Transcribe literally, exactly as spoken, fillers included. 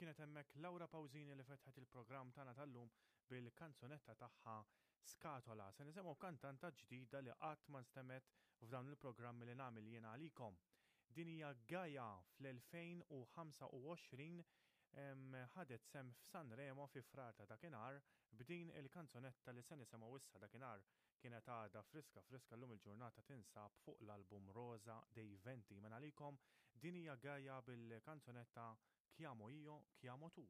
Kienet hemmhekk Laura Pausini li fetħet il-programm tagħna tal-lum bil-kanzunetta tagħha Skatola. Se nisimgħu kantanta ġdida li qatt ma nstemgħet f'dawn il-programmi li nagħmel jiena għalikom. Din hija Gaia. Fl-elfejn u ħamsa u għoxrin ħadet sem f'Sanremo fi Frar ta' dakinhar b'din il-kanzunetta li se nisimgħu issa. Dakinhar kienet għadha friska friska, llum il-ġurnata tinsab fuq l-album Rosa dei Venti. Mela għalikom din hija Gaia bil-kanzunetta Chiamo io, chiamo tu.